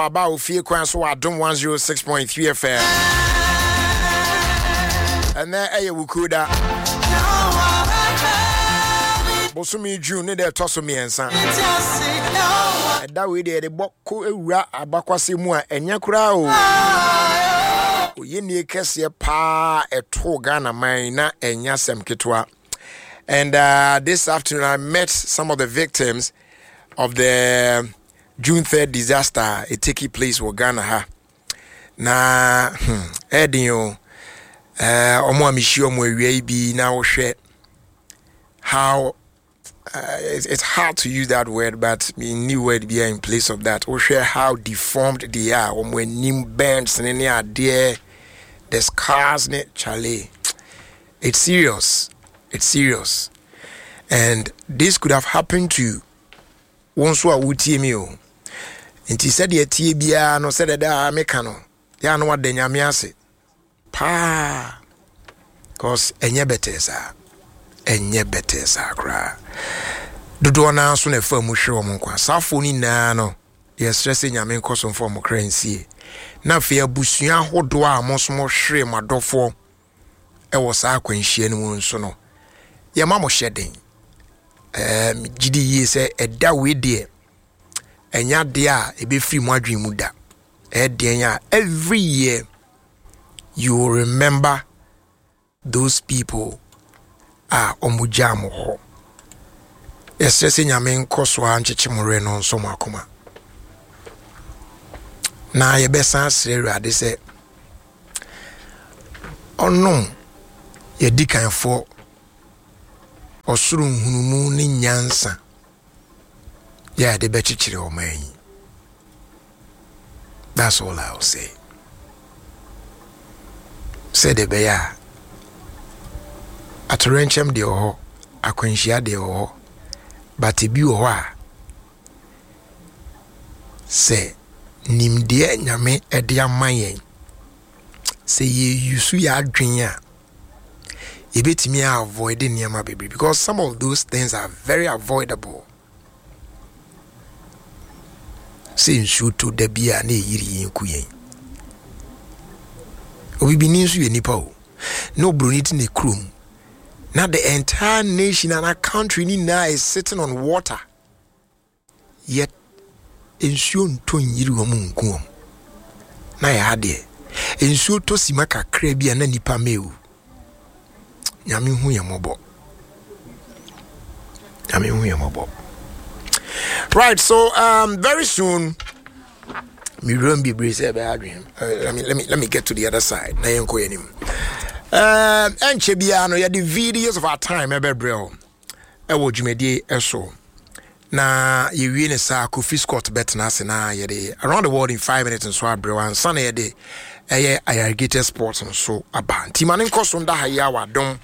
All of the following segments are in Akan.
Aba ofie kwan so wɔ Adom 106.3 FM. Ɛnɛ ɛyɛ Wukuda. Bosome June ne deɛ ɛtɔ so mmiɛnsa. Ɛda wei deɛ yɛde bɔ kɔ ewura abakwasɛ mu a ɛnyɛ koraa o. Oyɛnie kɛseɛ paa ɛtoo Ghana man na ɛnyɛ asɛm ketewa. And this afternoon I met some of the victims of the June 3rd disaster a ɛteki place wɔ Ghana ha na hmm, ɛden o ɔmo a mehyia ɔmo awia yi bi na wohwɛ how it's hard to use that word but menni word biara in place of that. Wohwɛ how deformed they are, wɔn anim burns ne ne adeɛ, the scars ne chale, it's serious, it's serious, and this could have happened to Wo nso a wotie me o. Nti sɛdeɛ ɛteɛ biara no, sɛdeɛ daa meka no, yɛ a na wada Nyame ase paa. Cause ɛnyɛ bɛtɛɛ saa. Ɛnyɛ bɛtɛɛ saa koraa. Dodoɔ no ara nso na ɛfa mu hwere wɔn nkwa. Saafoɔ no nyinaa no, yɛsrɛ sɛ Nyame nkɔ so mfa wɔn kra nsie. Na afei abusua ahodoɔ a mo nso mohwere mo adɔfoɔ wɔ saa akwanhyia no mu nso no, yɛma mo hyɛ den. Ɛɛ megye di yie sɛ ɛda wei deɛ ɛnyɛ adeɛ a ɛbɛfiri mo adwene mu da. Ɛyɛ deɛn a every year you will remember those people a wɔn gyaa mo hɔ. Yɛsrɛ sɛ Nyame nkɔ so ara nkyekye mo werɛ na ɔnsɔ mo akoma. Na yɛbɛsan asrɛ Awurade sɛ ɔnom yɛdikanfoɔ ɔsoro nhunumu ne nyansa yɛ a yɛde bɛkyekyere ɔman yi. That's all I will say. Sɛdeɛ ɛbɛyɛ a atoyerɛnkyɛm deɛ wɔ hɔ, akwanhyia deɛ wɔ hɔ, but ebi wɔ hɔ a sɛ nimdeɛ Nyame de ama yɛn, sɛ yɛyusu yɛ adwene a, yɛbɛtumi a avoid nneɛma bebree because some of those things are very avoidable. Sɛ nsuo tɔ da bi a na ɛyiri yɛn ku yɛn. Obibini nso yɛ nipa o. Na oburoni te ne kurom. Na the entire nation and our country ni nyinaa is sitting on water. Yet nsuo ntɔ nyiri wɔn nku wɔn. Na yɛ ha deɛ, nsuo tɔ sima kakra bi a na nipa mɛwu. Nyame hu yɛn mmɔbɔ. Nyame hu yɛn mmɔbɔ. Right, so very soon, me room be sɛ ɛbɛyɛ adwene. Let me get to the other side. Na yɛnkɔ yɛn anim. Ɛnkyɛ biara no yɛde videos of our time ɛbɛbrɛ o. Ɛwɔ dwumadie so. Na yɛwie ne saa Kofi Scott bɛtena ase na yɛde Around the World in 5 Minutes nso abrɛ ansa na yɛde ɛyɛ Ayarigated Sports nso aba. Nti ma ne nkɔ so nda ha yi a Adom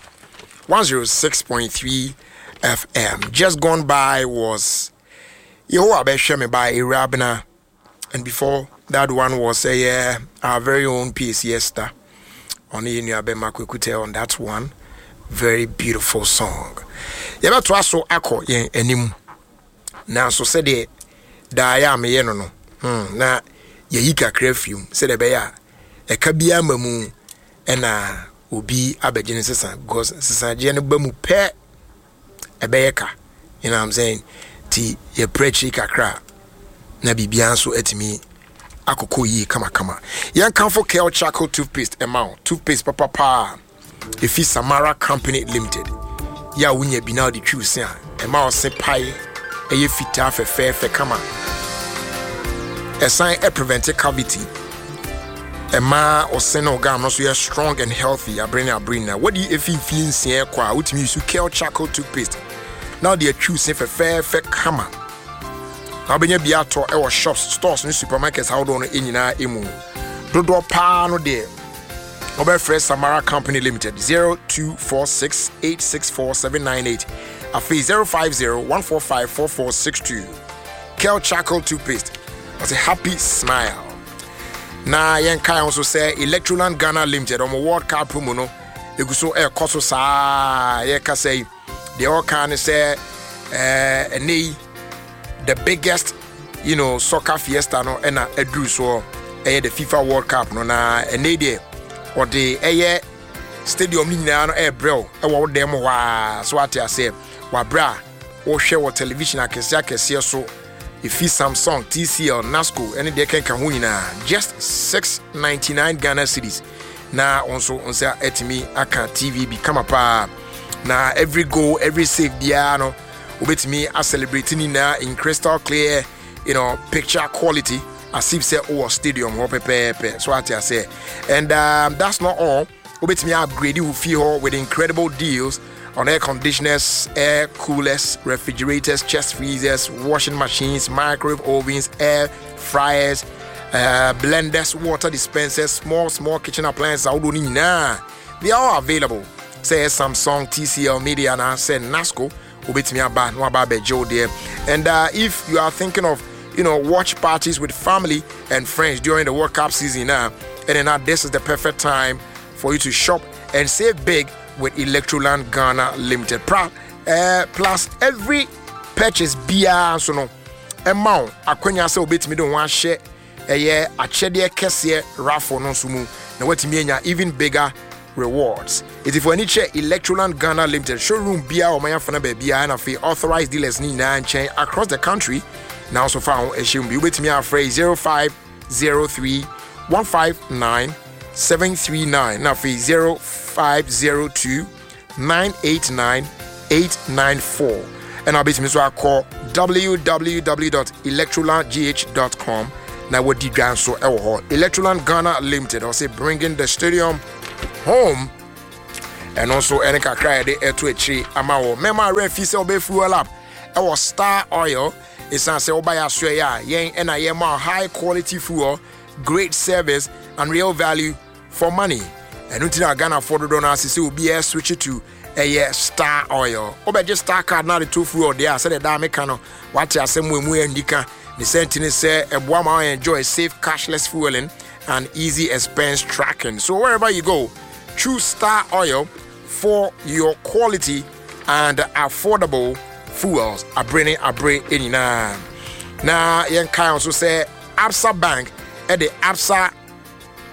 106.3 FM. Just gone by was Yehowa Bɛhwɛ Me by Ewurabena, and before that one was ɛyɛ our very own PACS star, ɔne yɛn nua bɛma Kwekutɛ on that one very beautiful song. Yɛbɛtoa so akɔ yɛn anim, nanso sɛdeɛ daa yɛ a meyɛ no, na yɛyi kakra firi mu sɛdeɛ ɛbɛyɛ a ɛka biara ma mu ɛna obi abɛgye ne sesa, because sesagyeɛ no ba mu pɛ ɛbɛyɛ ka, you know what I'm saying? Ti yɛprɛ akyiri kakra na biribiara nso atumi akokɔ yie kamakama. Yɛnkamfo Kel Charcoal Toothpaste ɛma wo, toothpaste papapaa ɛfi Samara Company Limited yɛ a wonya bi na wode twiw se a ɛma wo se pae ɛyɛ fitaa fɛfɛɛfɛ kama. Ɛsan ɛprevent cavity, ɛma ɔse ne ɔgam no so yɛ strong and healthy abere ne abere nyinaa. Wɔde efi mfie 6 kɔ a wotumi use Kel Charcoal Toothpaste na wode atwiw se fɛfɛɛfɛ kama. Na wobɛnya bi atɔ ɛwɔ shops, stores ne supermarkets ahodoɔ no nyinaa mu. Dodoɔ paa no deɛ, wɔbɛfrɛ Samara Company Limited 0246 864 798, afei 050 145 4462. Kel Charcoal Toothpaste, ɔsɛ happy smile. Na yɛnkae ho nso sɛ Electroland Ghana Limited ɔmo World Cup mu no ɛgu so ɛrekɔ so saa. Yɛkasa yi deɛ ɔka ne sɛ ɛnɛ yi the biggest. soccer fiesta no ɛna aduru soɔ, ɛyɛ the FIFA World Cup no. Na ɛnɛ deɛ ɔde ɛyɛ stadium no nyinaa no ɛrebrɛw ɛwɔ wo dan mu hɔ a, so ate aseɛ, wabrɛ a wohwɛ wɔ television akɛseɛ akɛseɛ so, efi Samsung, TCL, Nasco ɛne deɛ kɛnka ho nyinaa, just 699 Ghana cedis na wɔn nso nsa atumi aka TV bi kama paa. Na every goal, every save biara no, wobɛtumi acelebrate ne nyinaa in crystal clear picture quality, as if sɛ wowɔ stadium hɔ pɛpɛɛpɛ, so ate aseɛ. And that's not all. Wobɛtumi upgrade wo fie hɔ with incredible deals on air conditioners, air coolers, refrigerators, chest freezers, washing machines, microwave ovens, air fryers, blenders, water dispensers, small, small kitchen appliances. Ahodoɔ no nyinaa, they are all available. Sɛ Samsung, TCL, Media na sɛ Nasco, wobɛtumi aba na waba abɛgye wo deɛ. And if you are thinking of watch parties with family and friends during the World Cup season now, and then now this is the perfect time for you to shop and save big with Electroland Ghana Limited. Plus every purchase biara nso no ɛma wo akwanya sɛ wobɛtumi de ho ahyɛ ɛyɛ akyɛdeɛ kɛseɛ raffle no nso mu na watumi anya even bigger rewards. Ɛti fo ani kyerɛ Electroland Ghana Limited showroom biara ɔman afana baabiara na afei authorized dealers ne nyinaa nkyɛn across the country, na nso fa ho ɛhyɛ mu bi. Wobɛtumi afrɛ 0503 159 739 na afei 0502 989 894, ɛna wobɛtumi nso akɔ www.electrolandgh.com na wadi dwa nso ɛwɔ hɔ. Electroland Ghana Limited, ɔsɛ bringing the stadium home. Ɛno nso ɛne kakra a yɛde ɛto akyire ama wɔ mɛma awerɛ fi sɛ wobɛ fuel up ɛwɔ Star Oil, ɛsiane sɛ woba yɛ asoɛeɛ a yɛn ɛna yɛma high quality fuel, great service and real value for money. Ɛno nti na Ghanafoɔ dodoɔ no ase sɛ obiara switch to ɛyɛ Star Oil. Wobɛgye Star Card na de to fuel deɛ a, sɛdeɛ daa meka no, wate asɛm mu, emu yɛ ndika ne sɛ nti ne sɛ ɛboa ma enjoy safe cashless fueling and easy expense tracking. So wherever you go, choose Star Oil for your quality and affordable fuels. Abere ne abere nyinaa na yɛnkae nso sɛ Absa Bank ɛde Absa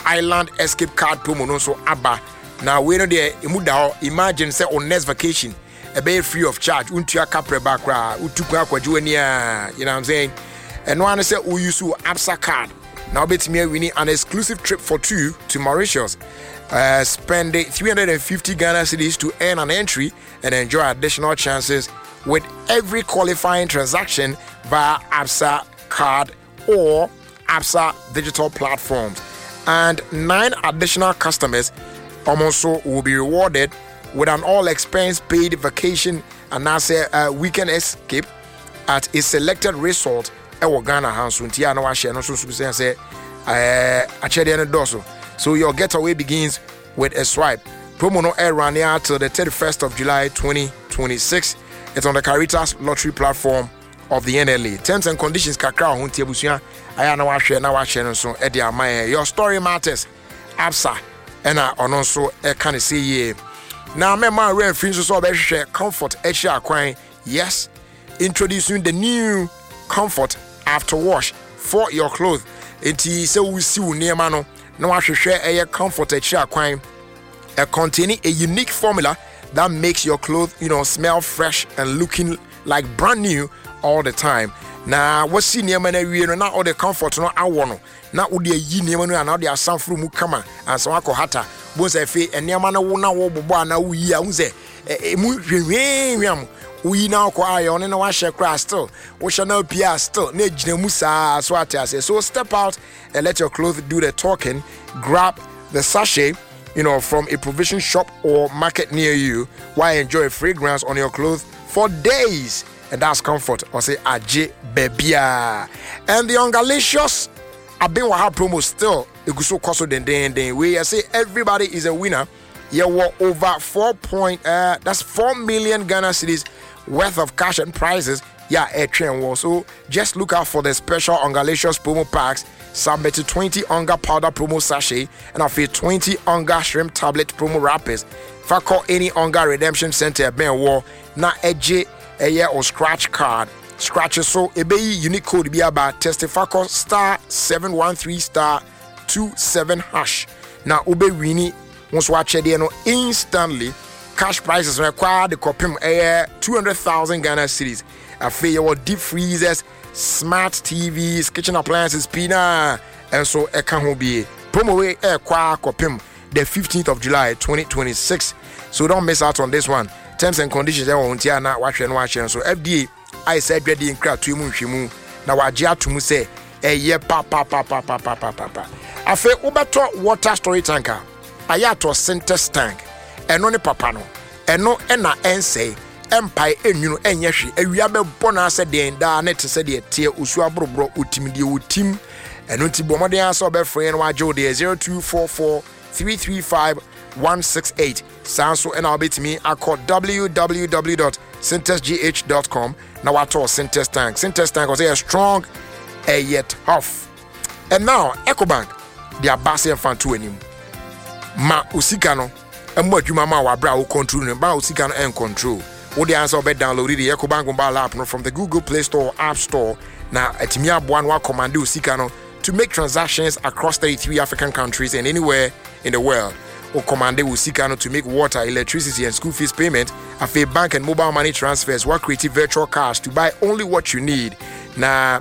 Island Escape Card promo no nso aba. Na wei no deɛ, emu da hɔ. Imagine sɛ on next vacation ɛbɛyɛ free of charge, wontua kaprɛ ba koraa, wotu kwan akɔgye w'ani a, you know what I'm saying? Ɛno ara ne sɛ wo use wo Absa card na wobɛtumi awini an exclusive trip for two to Mauritius. Spend 350 Ghana cedis to earn an entry and enjoy additional chances with every qualifying transaction via Absa card or Absa digital platforms. And nine additional customers also will be rewarded with an all expense paid vacation and a weekend escape at a selected resort ɛwɔ Ghana ha nso. Nti a na wahyɛ no nso so sɛ akyɛdeɛ no dɔɔso. So your getaway begins with a swipe. Promo no air run till the 31st of July 2026. It's on the Caritas lottery platform of the NLA. Terms and conditions kakra ho nti abusua ayɛ na wahwɛ na wahyɛ no nso ɛde ama yɛn. Your story matters. Absa ɛna ɔno nso ɛka ne sɛ yie. Na mɛma awura mfiri nso sɛ ɔbɛhwehwɛ Comfort akyiri akwan. Yes, introducing the new Comfort after wash for your clothes. Nti sɛ wosi wo nneɛma no na wahwehwɛ ɛyɛ Comfort akyiri akwan, containing a unique formula that makes your clothes smell fresh and looking like brand new all the time. Na wasi nneɛma no awie no na ɔde Comfort no awɔ no na wode ayi nneɛma no anaa wode asan foro mu kama ansa wakɔ hata bo sɛ afei nneɛma no wo na wɔbobɔ anaa woyi a, wohu sɛ ɛmu hwehwehwam. Woyi na wokɔ ayɛ ɔne na wahyɛ koraa, still wohyɛ na apue a, still na ɛgyina mu saa, so ate aseɛ. So step out and let your clothes do the talking. Grab the sachet from a provision shop or market near you while enjoy fragrance on your clothes for days. And that's Comfort or say aje bebia. And the Ungalicious Abin promo still egu kɔ so dendenden. We say everybody is a winner. Yɛwɔ over 4 point that's 4 million Ghana cedis worth of cash and prizes, yeah, ɛtwɛn wɔ. So just look out for the special Ungalicious promo packs. Submit 20 Onga powder promo sachet and afei 20 Onga shrimp tablet promo wrappers. Fa kɔ any Onga redemption center ɛbɛn wɔ na ɛgye ɛyɛ o scratch card. Scratch so ɛbɛyi unique code bi aba. Testify kɔ star 713 star 27 hash na wobɛwini wo nso akyɛdeɛ no instantly. Cash prizes no ɛkɔ ara de kɔpem ɛyɛ 200,000 Ghana cedis. Afei yɛwɔ deep freezers, smart TVs, kitchen appliances pii na ɛnso ɛka ho bie. Promo wei ɛkɔ ara kɔpem the 15th of July 2026, so don't miss out on this one. Terms and conditions ɛwɔ ho, nti a na wahwɛ no wahyɛ nso. FDA ayɛ sɛ adwadie nkratoɔ mu nhwɛmu na wagye ato mu sɛ ɛyɛ papapapapapapa. Afei wobɛtɔ water storage tank a, ayɛ atɔ Sintex tank. Ɛno ne papa no. Ɛno ɛna ɛnsɛe, ɛmpae, ɛnwunu, ɛnyɛ hwe. Awia bɛbɔ no asɛ den daa ne te sɛ deɛ teɛ osuo aboroborɔ otim deɛ otim. Ɛno nti bɔ mmɔden ara sɛ ɔbɛfrɛ no wagye wo deɛ 0244 335 168. Saa nso ɛna wobɛtumi akɔ www.syntexgh.com na watɔ Sintex tank. Sintex tank, ɔsɛ yɛ strong, ɛyɛ tough. And now Ecobank de aba sɛ yɛmfa nto anim ma osika no ɛmmɔ adwuma ma wabrɛ a wo control no ba osika no ɛn control wo de ansa wobɛ download the Ecobank mobile app no from the Google Play Store, App Store, na atumi aboa no akɔmande osika no to make transactions across 33 African countries and anywhere in the world. Wo commande wo sika no to make water, electricity and school fees payment, afei bank and mobile money transfers, wa create virtual cards to buy only what you need. Na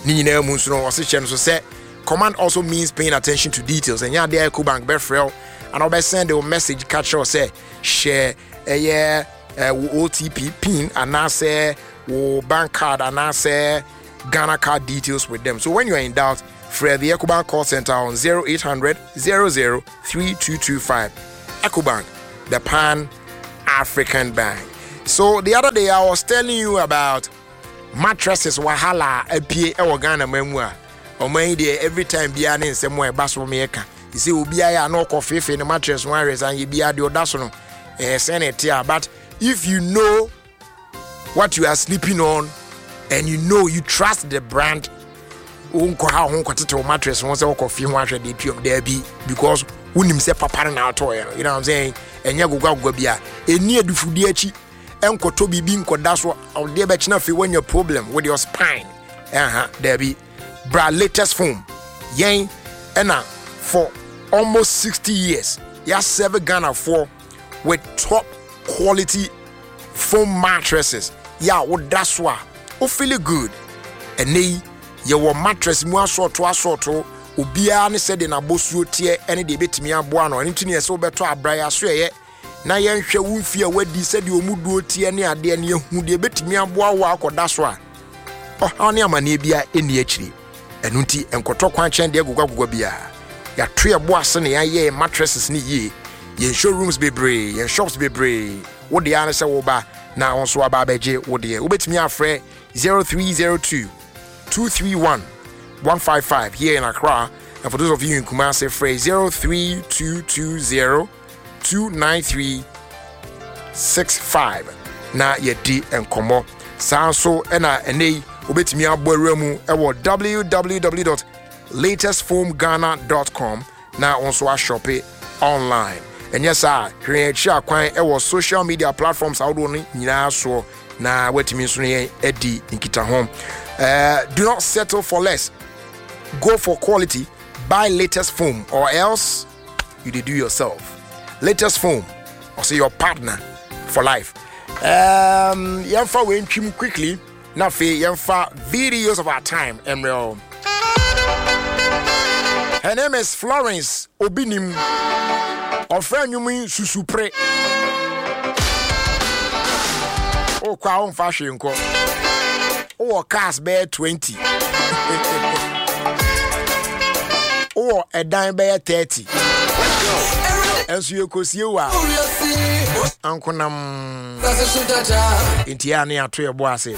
ne nyinaa mu nso no, ɔse hyɛ no so sɛ command also means paying attention to details. Ɛnyɛ adeɛ a Ecobank bɛfrɛ wo ana wobɛsend wo message ka kyerɛ wo sɛ hyɛ ɛyɛ wo OTP PIN anaasɛ wo bank card anaasɛ Ghana card details with them. So when you are in doubt, frɛ the Ecobank call center on 0800 00 3225. Ecobank, the Pan African Bank. So the other day I was telling you about mattresses wahala apie ɛwɔ Ghana man mu a ɔman yi deɛ, every time biara ne nsɛm a ɛba so meyɛka sɛ obiara yɛ a na ɔkɔ feefee ne mattress ho ahwɛ san yɛ biara deɛ ɔda so no ɛyɛ sɛn na ɛte a. But if you know what you are sleeping on and you know you trust the brand, wonkɔ ha ho nkɔtete wo mattress ho sɛ wokɔ fie ho ahwɛ deɛ tuam daabi, because wonim sɛ papa no na atɔɔyɛ no, you know what I'm saying? Ɛnyɛ gogoagoga bi a ɛni adufudie akyi ɛnkɔtɔ biribi nkɔda so ɔdeɛ bɛkyena afei woanya problem with your spine. Ɛha daabi. Bra Latest Foam. Yɛn ɛna for almost 60 years yɛasɛve Ghanafoɔ with top quality foam mattresses yɛ a woda so a wo feel good. Ɛnɛ yi yɛwɔ mattress mu asɔɔto asɔɔto, obiara ne sɛdeɛ n'abɔsuo teɛ ɛne deɛ ɛbɛtumi aboa no. Ɛno nti ne yɛ sɛ wobɛtɔ abra yɛ aso ɛyɛ na yɛnhwɛ wo mfie a wadi, sɛdeɛ ɔmu duo teɛ ne adeɛ ne yɛhu deɛ ɛbɛtumi aboa wo akɔda so a ɔhaw ne amanneɛ biara ɛnni akyire. Ɛno nti nkɔtɔ kwan kyɛn deɛ gogoagogoa biara. Yɛato yɛ bo ase na yɛayɛ mattresses ne yie. Yɛn showrooms bebree, yɛn shops bebree. Wo deɛ ara ne sɛ woba na wo nso aba abɛgye wo deɛ. Wobɛtumi afrɛ 0302 231 155 here in Accra, and for those of you in Kumasi, frɛ 03220 293 65 na yɛdi nkɔmmɔ. Saa nso ɛna ɛnɛ yi wobɛtumi abɔ awura mu ɛwɔ www.latestfoamghana.com na wo nso ashope online. Ɛnyɛ saa, hwɛ yɛn akyi akwan ɛwɔ social media platforms ahodoɔ no nyinaa soɔ na woatumi nso ne yɛn adi nkitaho. Do not settle for less. Go for quality. Buy Latest Foam or else you dey do yourself. Latest Foam, ɔsɛ your partner for life. Yɛmfa wei ntwim quickly na afei yɛmfa videos of our time mmerɛ. Her name is Florence Obinim. Ɔfrɛ nnwom yi Susupre. Wokɔ a womfa hwee nkɔ. Wowɔ cars bɛyɛ 20, wowɔ ɛdan bɛyɛ 30, ɛnso yɛkɔsie wo a ankonam. Nti a ne yɛato yɛbo ase.